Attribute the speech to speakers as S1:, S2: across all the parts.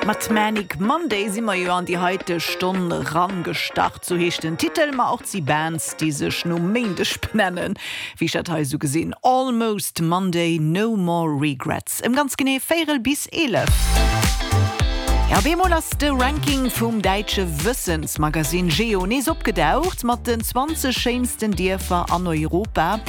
S1: Mat Manic Monday si mer jo an déi heite Stonn rangestart, sou heescht den Titel, ma och d'si Bands, déi sech nom Méindeg benennen, wéi ech dat hei esou gesinn, Almost Monday, No More Regrets. Ëm ganz genee véierel bis 11. Ja, op eemol ass de Ranking vum däitsche Wëssensmagasinn Geo nees opgedaucht, mat den 20 schéinsten Dierfer an Europa.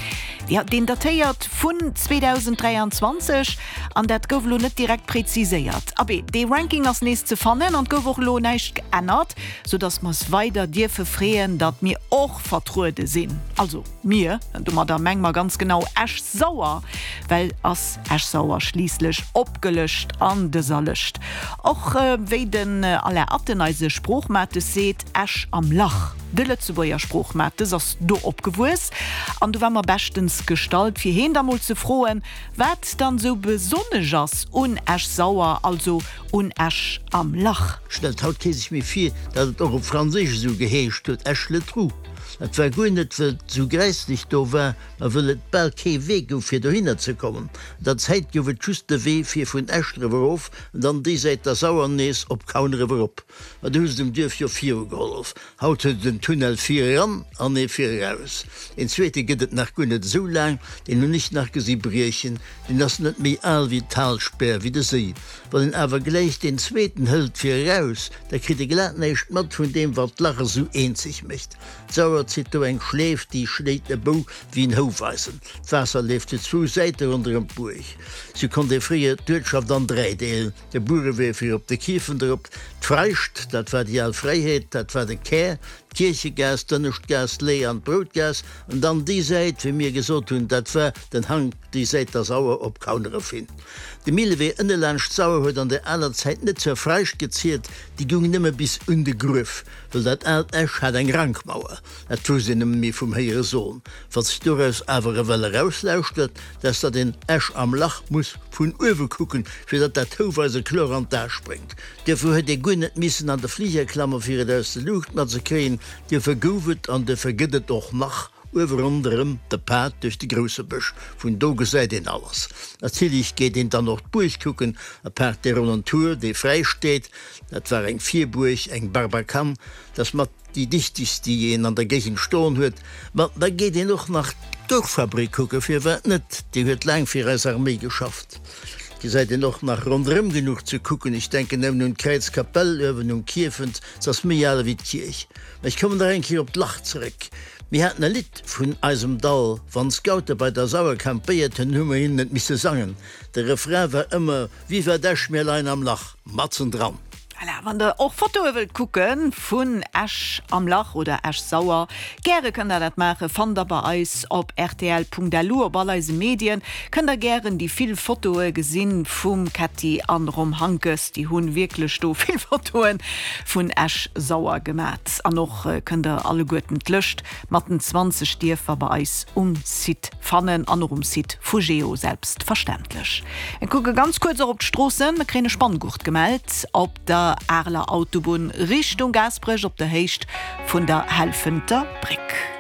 S1: Ja, deen datéiert vun 2023 an dat gouf elo net direkt preziséiert. Abee, dee Ranking ass nees ze fannen an 't gouf och elo näischt geännert, sou dass mer s weider dierfe freeën, datt mir och vertruede sinn. Also mir, domadder menge mer ganz genau Esch-Sauer, well ass Esch-Sauer schliisslech opgelëscht an dëser Lëscht. Och wéi den Alain Atten, eise Sproochmates, seet, Esch am Lach. De Lëtzebuerger Sproochmates ass do opgewuess an do war mer beschtens gestallt, fir heen da mol ze froen, wat dann sou besonnesch ass un Esch-Sauer, also un Esch am Lach.
S2: Stellt haut kee sech méi vir, datt et och op Franséisch esou geheescht huet, Esch-le-Trou. Dat war guer net, wëll et esou gräisslech do war, ma wëll et bal kee Wee gouf, fir dohinner ze kommen. An der Zäit gouf et just de Wee fir vun Esch eriwwer erof an dann déi Säit der Sauer nees op Kaun eriwwer erop. Ma du hu se dem Duerf jo virugehollef. Haut huet et en Tunnel vir eran an ee vir eraus. Een zweete gëtt et nach guer net esou laang, deen hunn ech nach gesi briechen. Deen ass net méi al wéi d'Talspär, wéi de Séi. Wann een awer gläich deen zweeten hëlt fir eraus, da kritt e glat näischt mat vun deem, wat d'Lach esou eenzeg mécht. D'Sauer zitt do eng Schleef, déi schléit e Bou wéi en Houfeisen. D'Waasser leeft zu zwou Säite ronderëm d'Buerg. Sou konnt ee fréier d'Uertschaft an 3 deelen, de Buerewee fir op de Kierfent erop, d'Freischt, dat war déi al Fräiheet, dat war de Kär, d'Kierchegaass, d'Ënneschtgaass, d'Lee an d'Broutgaass, an dann déi Säit, wéi mir gesot hunn, dat war den Hank, déi Säit der Sauer op Kauneref hin. De Millewee ënne laanscht d'Sauer huet an der aler Zäit net zur Freischt gezielt, déi goung nëmme bis un de Gruef, wëll dat aalt Esch hat eng Rankmauer, dat wousst een nëmme méi vum héiere soen. Wat sech doraus awer ewell erauslauschtert, dat ass, datt een Esch am Lach muss vun uewe kucken, fir datt dat Houweise kloer an d'A spréngt. Duerfir huet ee guer net missen an de Fliger klammen, fir et aus de Luucht matzekréien. Duerfir gouf et an duerfir gëtt et och nach uewe ronderëm de Pad duerch de grousse Bësch. Vun do gesäit een alles. Natierlech geet een dann och d'Buerg kucken, apaart dee ronnen Tour, dee fräi steet. Dat war eng Virbuerg, eng Barbacane, dat ass mat déi dichtegst, déi een an der Géigend stoen huet. Ma da geet een och nach d'Gourfabrik kucken, firwat net, déi huet laang fir eis Arméi geschafft. Gesäit een och nach ronderëm genuch ze kucken, ech denken nëmmen un d'Kräizkapell uewen um Kierfent, se ass méi al ewéi d'Kierch. Ma ech kommen nach eng Kéier op d'Lach zeréck. Mir haten e Lidd vun eisem Dall, wann d'Scoute bei der Sauer campéiert hunn, hu mer hinnen et misse sangen. De Refrain war ëmmer, Viva d'Esch, mir leien am Lach, matzen dran.
S1: Voilà, wann der och Fotoe wëllt kucke vun Esch am Lach oder Esch-Sauer, gäre kënnt der dat maachen. Fannt der bei eis op rtl.lu. Op all eise Medien kënnt der gären déi vill Fotoe gesinn vum Ketty an Rom Hankes. Déi hunn wierklech do vill Fotoe vun Esch-Sauer gemat. An och kënnt der alleguerten d'Lëscht mat den 20 Dierfer bei eis um Site fannen an och um Site vu Geo selbstverständlech. Mir kucke ganz kuerz och op d'Stroossen. Mir kréien e Spanngurt gemellt op der Areler Autobunn Richtung Gaasperech op der Héicht vun der Helfenter Bréck.